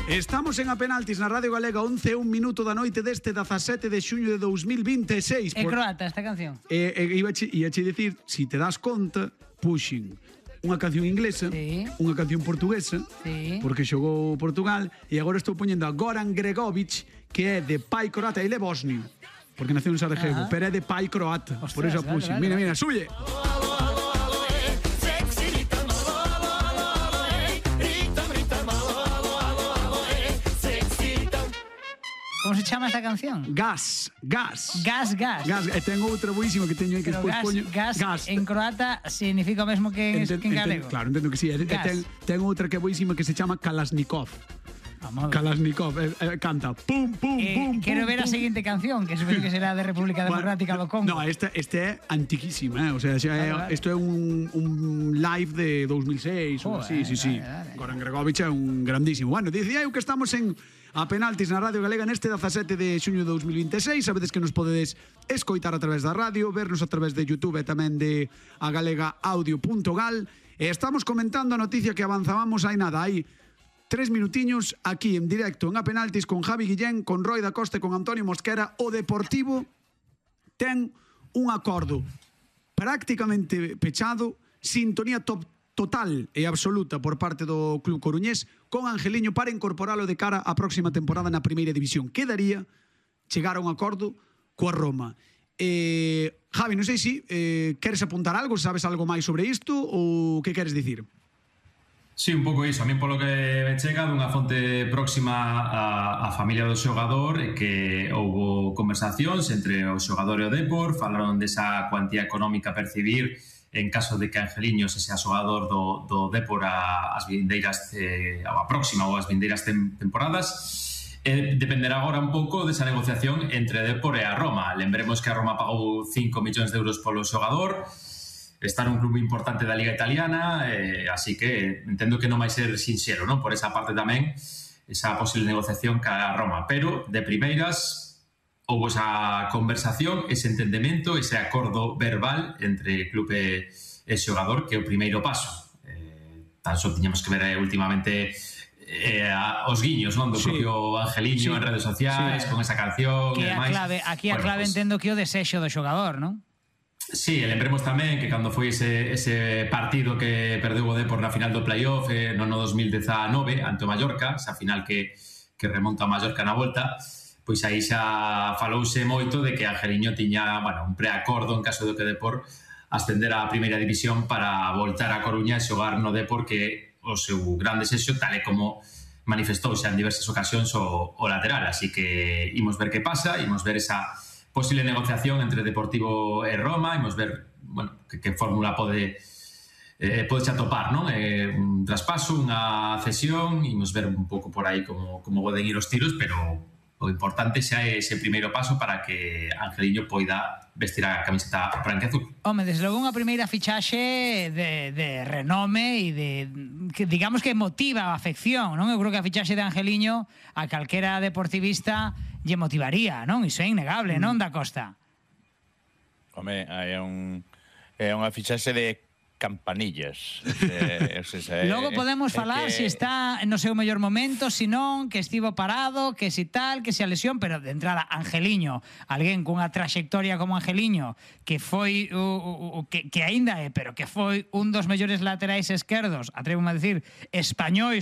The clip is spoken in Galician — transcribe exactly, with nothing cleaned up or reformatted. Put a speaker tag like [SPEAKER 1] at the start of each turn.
[SPEAKER 1] Estamos en A Penaltis na Radio Galega, once e un minuto da noite deste dezasete de xuño de dous mil vinte e seis.
[SPEAKER 2] É croata esta canción.
[SPEAKER 1] E, e iba che, ia che dicir, si te das conta, puxen unha canción inglesa,
[SPEAKER 2] sí,
[SPEAKER 1] unha canción portuguesa,
[SPEAKER 2] sí,
[SPEAKER 1] porque xogou Portugal, e agora estou poñendo a Goran Bregović, que é de pai croata, ele é bosnio, porque naceu en Sarajevo, pero é de pai croata. Ostras, por eso puxen. Vale, vale, mira, mira, sulle.
[SPEAKER 2] Como se chama esta canción?
[SPEAKER 1] Gas, gas.
[SPEAKER 2] Gas, gas.
[SPEAKER 1] Gas, e ten outra boísima que teño aí que despois poño.
[SPEAKER 2] Gas, gas en croata significa o mesmo que en,
[SPEAKER 1] enten,
[SPEAKER 2] que en galego.
[SPEAKER 1] Enten, claro, entendo que sí. E ten, ten outra que é boísima que se chama Kalashnikov.
[SPEAKER 2] Vamos.
[SPEAKER 1] Kalashnikov, eh, eh, canta pum, pum,
[SPEAKER 2] eh,
[SPEAKER 1] pum,
[SPEAKER 2] Quero
[SPEAKER 1] pum,
[SPEAKER 2] ver a
[SPEAKER 1] pum.
[SPEAKER 2] seguinte canción, que supoño que será de República Democrática do Congo.
[SPEAKER 1] No, esta, este é antiquísima, eh? O sea, xa é,
[SPEAKER 2] vale, vale.
[SPEAKER 1] Isto é un, un live de dos mil seis, oh, así, eh, sí, sí. Vale, vale. Goran Bregović é un grandísimo. Bueno, dicía eu que estamos en A Penaltis na Radio Galega neste dezasete de xuño de dous mil vinte e seis. Sabedes que nos podedes escoitar a través da radio, vernos a través de YouTube e tamén de a galega audio punto gal. E estamos comentando a noticia que avanzábamos hai nada, hai tres minutiños aquí en directo en A Penaltis con Javi Guillén, con Roy da Costa e con Antonio Mosquera. O Deportivo ten un acordo prácticamente pechado, sintonía top total e absoluta por parte do club coruñés con Angeliño para incorporalo de cara á próxima temporada na primeira división. Quedaría chegar a un acordo coa Roma. Eh, Javi, non sei se eh, queres apuntar algo, sabes algo máis sobre isto ou que queres dicir?
[SPEAKER 3] Sí, un pouco iso. A mí polo que me chega dunha fonte próxima a, a familia do xogador é que houbo conversacións entre o xogador e o Depor, falaron desa cuantía económica a percibir en caso de que Angeliño se sea xogador do, do Depor a, as vindeiras eh, a próxima ou as vindeiras tem, temporadas. Eh, dependerá agora un pouco desa negociación entre Depor e a Roma. Lembremos que a Roma pagou cinco millóns de euros polo xogador, está nun club importante da Liga Italiana, eh, así que entendo que non vai ser sinxero, non? Por esa parte tamén, esa posible negociación ca Roma, pero de primeiras houve esa conversación, ese entendemento, ese acordo verbal entre club e, e xogador, que é o primeiro paso. Eh, tan só tiñamos que ver eh, últimamente eh, a, os guiños, non? Do sí. propio Angeliño sí. en redes sociais, sí. con esa canción
[SPEAKER 2] que
[SPEAKER 3] e
[SPEAKER 2] a clave, aquí a bueno, clave pues, entendo que o desexo do xogador, non?
[SPEAKER 3] Sí, lembremos tamén que cando foi ese, ese partido que perdeu o Depor na final do playoff eh, no ano dos mil dezanove ante o Mallorca, esa final que, que remonta a Mallorca na volta, pois aí xa falouse moito de que Angeliño tiña, bueno, un preacordo en caso de que o Depor ascender á primeira división para voltar a Coruña e xogar no Depor, que o seu gran desexo, tal e como manifestouse en diversas ocasións o, o lateral. Así que imos ver que pasa, imos ver esa posible negociación entre Deportivo e Roma, imos ver, bueno, que, que fórmula pode eh, pode xa topar, non? Eh, un traspaso, unha cesión, imos ver un pouco por aí como, como poden ir os tiros, pero o importante xa é ese primeiro paso para que Angeliño poida vestir a camiseta branca e azul.
[SPEAKER 2] Home, desde logo unha primeira fichaxe de, de renome e de, que digamos que motiva a afección, non? Eu creo que a fichaxe de Angeliño a calquera deportivista lle motivaría, non? Iso é innegable, mm. non, da Costa?
[SPEAKER 4] Home, é un é unha fichaxe de campanillas. Eh, se, se,
[SPEAKER 2] Logo podemos falar que... se está no seu mellor momento, se non, que estivo parado, que si tal, que se a lesión, pero de entrada Angeliño, alguén cunha traxectoria como Angeliño, que foi o, o, que, que aínda é, pero que foi un dos mellores laterais esquerdos, atrevo a decir, españois